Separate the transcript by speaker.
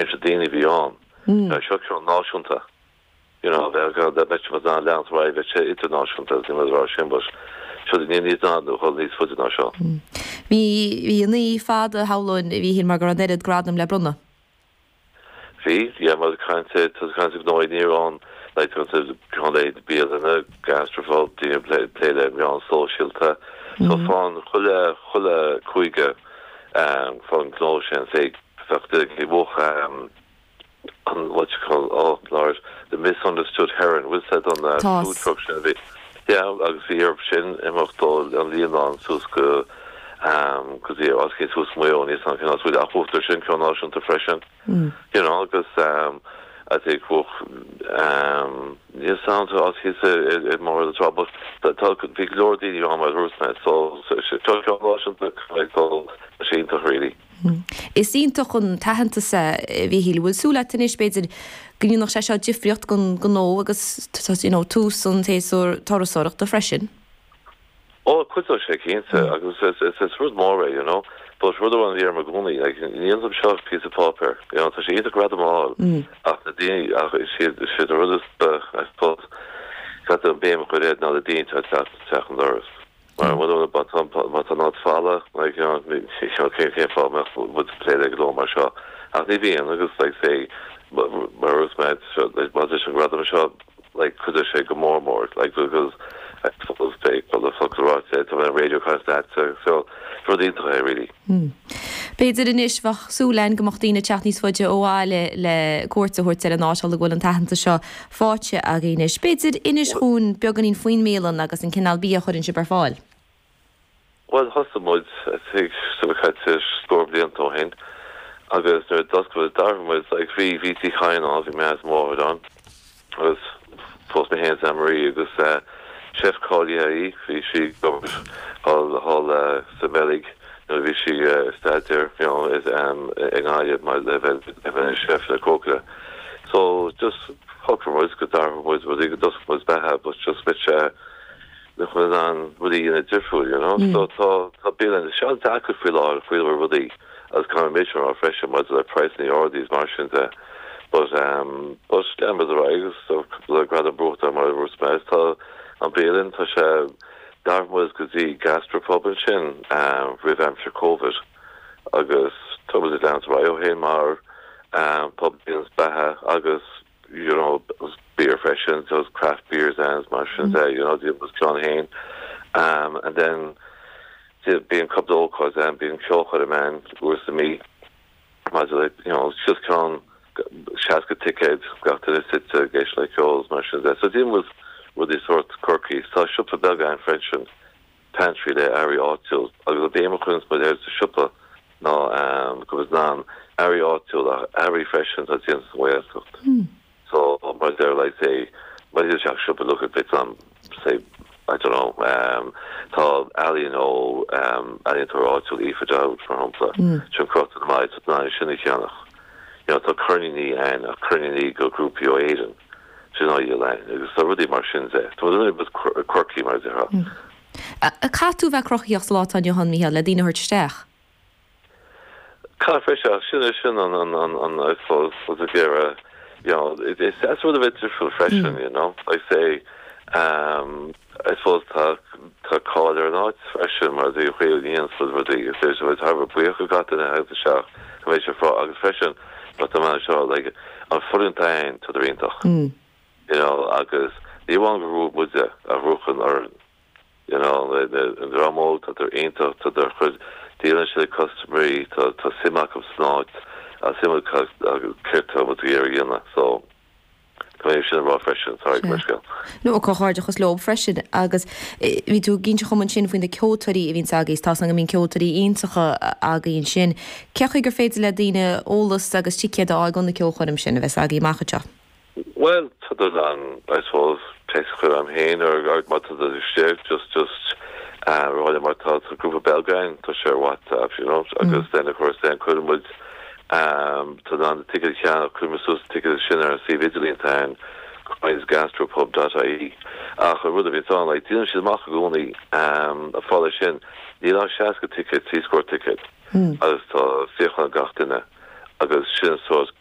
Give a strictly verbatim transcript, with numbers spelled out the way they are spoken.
Speaker 1: Réimse daoine a bhí ann. Seo ceann náisiúnta. You know, bheadh dá mbeadh muid in ann leanacht ar aghaidh, bheadh sé idirnáisiúnta, is níl mé ag rá sin, but seo ní níos ná nó dhul níos faide ná seo.
Speaker 2: Bhí bhí an oíche fada shamhlóinn, a Mhíchíl, mar go raibh an oiread gradam le bronnadh.
Speaker 1: Bhí, yeah, mar caint tá caint gnó ní ann, like tá ceann le bialanna, gastropub, daoine plé plé le meán sóisialta. So fán chuile chuile cúige um, fán gnó sin sé bheadh bhuaigh um, an what you call oh lord the misunderstood heron bhfuil said on the
Speaker 2: Tá.
Speaker 1: food truck sin a bhí yeah agus bhí ar sin imeacht ó an Líonán suas go um go dtí os cé suas Maigh Eo níos an ceann ach bhuaigh sin ceann náisiúnta freisin you know agus um I think bhuaigh um níos sound os hí i mar the trouble but tá bhí go leor daoine ann mar dúirt mé so so ceann náisiúnta like dul sé iontach really.
Speaker 2: Is iontach an t-aitheantas é a Mhíchíl bhfuil súil agat anois b'fhéidir go ndéanfadh sé seo difríocht don gnó agus you know, tús an tséasúr turasóireachta freisin.
Speaker 1: Ó cuideoidh sé cinnte agus is is is rud mór é you know but rud amháin bhí ar mo gcónaí like níl am seo píosa páipéir you know tá sé iontach gradam a fháil ach na daoine ach is siad is siad rud is I suppose got an béim chu ná na daoine tá teach an doras. Mar má tá má tá ná fála like you know cén cén fáth mbeadh muid plé le gnó mar seo ach ní bhíonn agus like say mar is mé má an gradam seo like cuideoidh sé go mór mór like because I suppose they well the focal ráite tá an radio cast that so so rud iontach é really.
Speaker 2: B'fhéidir anois bheadh súil againn go mbeadh daoine teacht níos faide ó bhaile le cuairt a thabhairt ar an áit go bhfuil an t-aitheantas seo faighte againn anois. B'fhéidir inis dúinn beagáinín faoin mbialann agus an cineál bia a chuireann sibh ar fáil.
Speaker 1: Well thosaigh muid tig sa chaite scór blianta ó shin agus nuair d'oscail dar muid like bhí bhí tí chain á bhí mé mór an agus fós mé féin Anne-Marie agus uh, chef cáilithe í bhí sí thall thall uh, sa Bheilg nuair bhí sí uh, staidéar you know, is um, i nGaillimh mar le bheith le bheith chef le cócaire. So just shocraigh muid go dar muid rudaí go d'oscail muid beatha but just bit uh, le chun an rudaí ina difriúil you know mm. so tá tá bialann sé deacair faoi láthair faoi rudaí agus kan méid á freisin maidir le praghsanna arda mar sin de but um but lean agus so le gradam buaite mar dúirt mé tá an bialann tá sé dar muid go dtí gastropub sin um, roimh aimsir COVID agus tá muid lean ó shin mar um, pub beatha agus you know beer freisin those craft beers and mar sin de you know dí was John Hain um, and then bíonn cúpla ócáid an bíonn ceolchoirm ann uair sa mí maidir le you know just ceann seasca ticéad gach duine suite ag éisteacht le ceol mar sin de so dí was rudaí sort quirky tá siopa beag ann freisin pantry le earraí áitiúil agus a béim chun mu ar sa siopa ná um, go bhfuil ná earraí áitiúil a earraí freisin tá déanta sa Ghaeltacht. So mar there like say mar se siopa look at bit um say I don't know um tá ealaín ó um ealaíontóir áitiúil Aoife Dowd mar shampla sin crochta na maid ná sin a cheannach. You know, tá ceirníní ann a ceirníní go grúpaí ó Éirinn sin á lein agus tá rudaí mar sin de. Tá bit quirky mar déarfá.
Speaker 2: A caithfidh tú bheith cruthaíoch sa lá atá inniu ann Mícheál le daoine a thabhairt isteach.
Speaker 1: Ca freisin sin sin an an an an I suppose was a géire you know it, it's that's sort of a difriúil freisin you know like say um I suppose tá tá cáil ar an áit freisin mar dí chuil íon rudaí is é thar buíoch go na agus seach go méid sé frá agus freisin but tá man seo like an foireann tain tá iontach you know agus ní amháin go raibh muide a ruchan ar you know the an dream óg tá iontach tá der chud dílan sé customary tá tá suim acu san áit a suim agus céard muid a dhéanamh so Tá sin rá freisin sorry scéal.
Speaker 2: No comhghairdeachas leo freisin agus bhí tú ag inse dom ansin faoi na ceoltóirí a bhíonn agaibh tá go mbíonn ceoltóirí iontacha agaibh ansin. Cén chaoi gur féidir le daoine eolas agus ticéid a fháil na ceolchoirm sin a bheas agaibh amach anseo.
Speaker 1: Well tá an I suppose text chur am féin ar ar má tá istigh just just uh rá mar tá sa grúpa Belgain tá sé WhatsApp you know agus then of course then chuir muid um tá an ticket cheannach chuir muid suas ticket sin ar an suíomh idirlín tá coinsgastropub.ie ach an rud a bhí an like díolann siad amach i gcónaí um a fála sin níl ach seasca ticket trí scór ticket agus tá suíochán gach duine Agus sin sórt